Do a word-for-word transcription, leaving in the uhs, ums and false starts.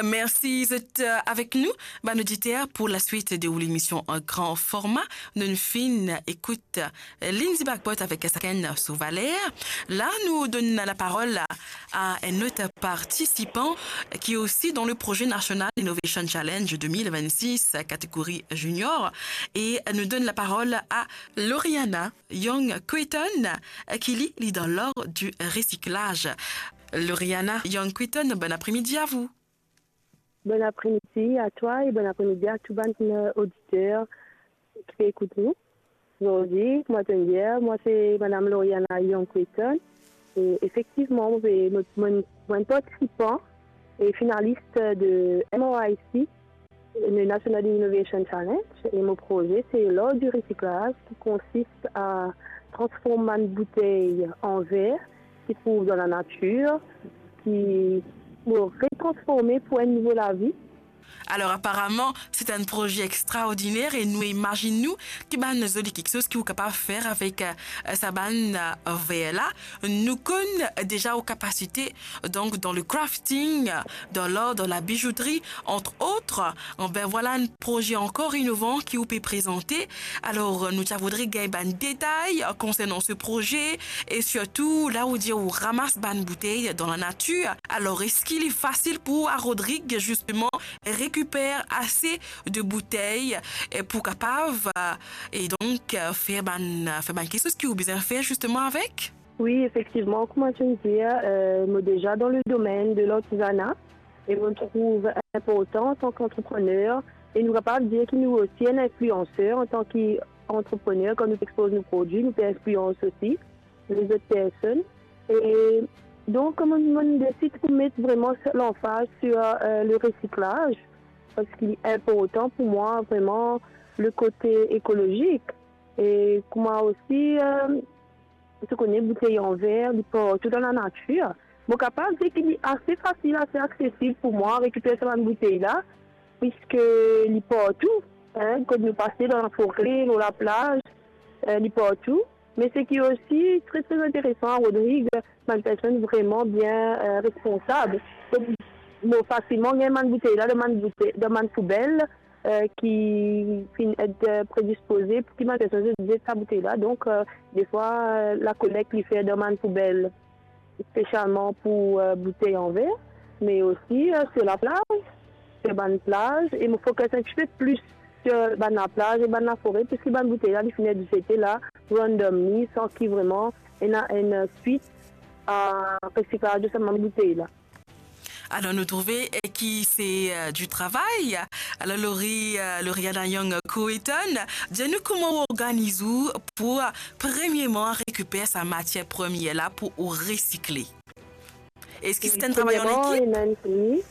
Mersi zot, eh, avek nou, bann oditer, pou laswit de ou lemision an gran forma. Nou'nn finn ekout, eh, Lindsay Bagpot avek sakenn so valer. La, nou donn laparol a, a enn lot partisipan ki osi dan le proze National Innovation Challenge de mil vennsis, kategori junior. E nou donn laparol a Lauriana Young Quitton, ki li, li dan lar di resiklaz. Lauriana Young Quitton, bon apremidi a vou. Bon apremidi a twa e bon apremidi a tou bann, eh, oditer ki pe ekout nou. Zordi, kouma to'nn dir, mwa se Madam Lauriana Young Quitton. E efektivman, mo pe, mo, mo, mo enn partisipan e finalis de M R I C, le National Innovation Challenge, e mo proze se lar di resiklaz ki konsist a transform bann boutey an ver ki trouv dan lanatir, ki pou retransforme pou enn nouvo lavi. Alor, aparaman, se enn proze extraordiner e nou imazinn nou ki bann zoli kiksoz ki ou kapav fer avek, eh, sa bann, eh, ver la. Nou konn deza ou kapasite, donk, dan le crafting, dan l'or, dan la bijoutri, entre autres. Anben, vwala enn proze ankor inovan ki ou pe prezante. Alor, nou ti a voudre gagn bann detay konsernan se proze e sirtou la ou dir ou ramas bann boutey dan lanatir. Alor, eski li fasil pou ou a Rodrig, zisteman, rekiper ase de boutey, eh, pou kapav, eh, e donk, eh, fer bann, fer bann kiksoz ki ou bizin fer zisteman avek? Wi, efektivman, kouma to'nn dir, eh, mo deza dan le domenn de lartizana e mo trouv inportan antan ki antreprener, e nou kapav dir ki nou osi enn inflianser antan ki antreprener, kan nou pe expoz nou prodwi, nou pe inflians osi lezot personn. E donk, mo, mo desid pou met vreman lanfaz sur, eh, le resiklaz, parski li inportan pou mwa, vreman, le kote ekolozik. E kouma osi, eh, to kone, boutey an ver, li partou dan lanatir. Mo kapav dir ki li ase fasil, ase aksesib pou mwa rekiper sa bann boutey la, piski li partou, hein, kot nou pase, dan lafore, lor laplaz, eh, li partou. Me seki osi tre, tre interesan a Rodrig, bann personn vreman bien, eh, responsab. Donk, mo fasilman gagn bann boutey la dan bann boutey, dan bann poubel, eh, ki finn et, eh, predispoze pou ki bann personn zet sa boutey la. Donk, eh, defwa, eh, lakoleg li fer dan bann poubel, spesialman pou, eh, boutey an ver, me osi, eh, sur laplaz, sur bann plaz, e mo fokis enn tipe plis sur bann laplaz e bann lafore, piski bann boutey la, li finn et zete la, randomly, san ki vreman ena enn swit a resiklaz de sa bann boutey la. Alor, nou trouve, eh, ki se, eh, di travay. Alor, Lori, eh, Lauriana Young Quitton, dir nou kouma ou organiz ou pou, eh, premierman, rekiper sa matier premier la pou ou resikle. Eski se enn travay an ekip? Premierman, ena enn, wi.